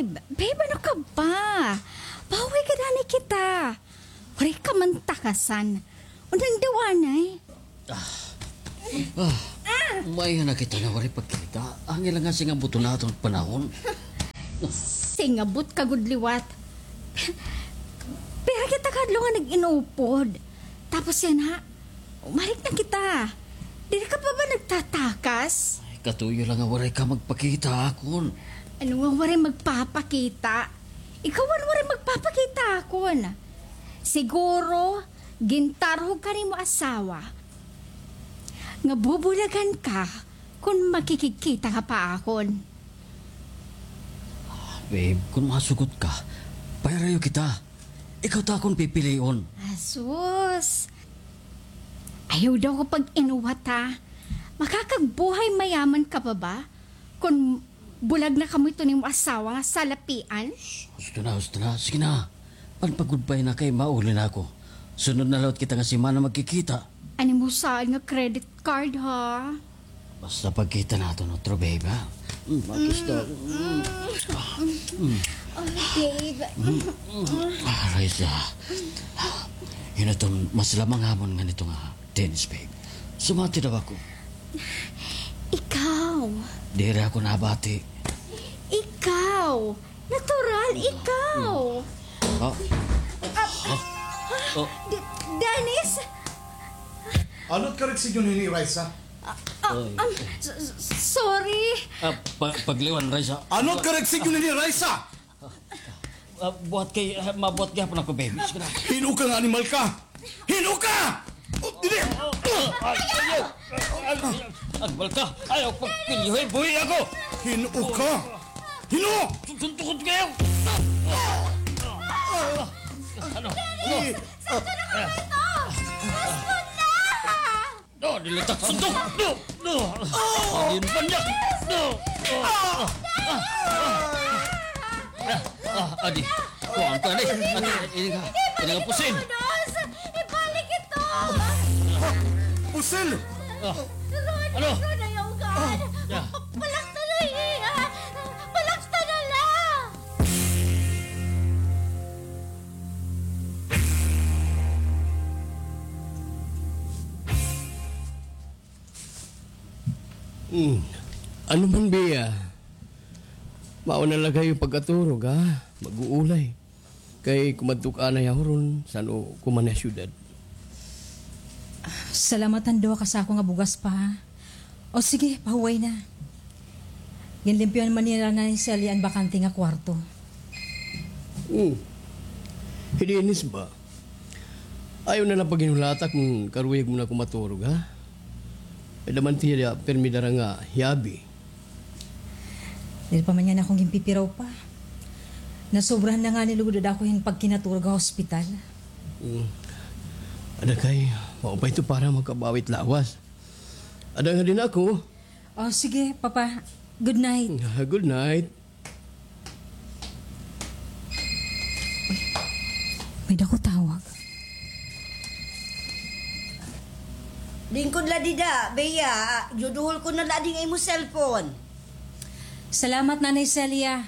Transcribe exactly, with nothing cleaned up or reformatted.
Babe, ano ka ba? Pauwi ka na ni kita. Waray ka man takasan. Unang daw anay. Ah. Ah. Maayo na kita nga waray pagkita. Angay la nga singabot naton panahon. Singabot ka gud liwat. Pira kita kahadlok nga nag-inupod. Tapos yana, umalik na kita. Diri ka pa ba nagtatakas? Ay, katuyo la nga waray ka magpakita akon. Ano nga waray magpapakita? Ikaw an waray magpapakita akon. Siguro, gintarhog ka nimo asawa nga bubulagan ka kon makikigkita ka pa akon. Babe, kon masugot ka, pahirayo kita. Ikaw ta akon pipilion. Asus! Ayaw daw ko pag-inuwat, ha. Makakagbuhay mayaman ka pa ba? Kon bulag na kamo hito nimo asawa nga salapian. Husto na, husto na. Sige na. Panpagudbay na kay mauli na ako. Sunod na liwat kita nga semana magkikita. An imo saad nga credit card, ha? Basta pagkita naton utro, babe, ha? Mm, basta. Mm. Oh, babe. Mm. Ah, Raisa. Hinaton, mas lamang hamon nga nito nga Dennis, babe. Sumati daw ako. Ikaw. Diri ako nabati. Ikaw. Natural, ikaw. Ah. Ah. Oh. De-, Dennis? Ano it correction niyo ni Raisa? Ah, ah, um, s-, s-, sorry. Ah, pa-, pagliwan, Raisa. Ano it correction niyo ni Raisa? Ah, buhat kay, ah, mabuhat gihapon ako, babe. Sige na. Hin-o ka nga animal ka? Hin-o ka? Oh, dili! Ay, ayaw! Ay, ay, animal ka! Ayaw pagpilyohi, buhi ako! Hin-o ka? Hin-o? Suntukon kayo! Ano? Ano? Saan ka na kayo ito? Gusto na! No, dili ta sundok. No, no. Ayun pa niya. No. Ah, ah, ah, ah, adi. Kuhaan ka, adi. Adi, ini ka. Ini ka pusin. Ibalik ito. Pusil! Ah. Ano? Ano na yung gaan? Ah. Balak na na iya. Balak na na la. Hmm. Ano man, Bea? Mauna la kayo pagkaturog, ha? Mag-uulay. Kay kumadto ka anay ha huron, san-o ko man ha syudad. Salamat han duha ka sako nga bugas pa, ha? O sige, pahuway na. Ginlimpyohan man nira Nanay Celia an bakante nga kwarto. Hmm. Hi Dennis ba? Ayaw na la paghinulata kon karuyag mo na kumaturog, ha? Kay daman tiya pirmi dara nga hiabi. Diri pa man niyan ako ginpipiraw pa. Nasobrahan na ngani lugod an ako hin pagkinaturog ha ospital. Mm. Ada kay, maupay ito para makabawi it lawas. Ada nga din ako. Oh, sige, Papa. Good night. Ah, good night. Uy, may dako tawag. Lingkod la dida, Bea, yuduhol ko na la ding imo cellphone. Salamat, Nanay Celia.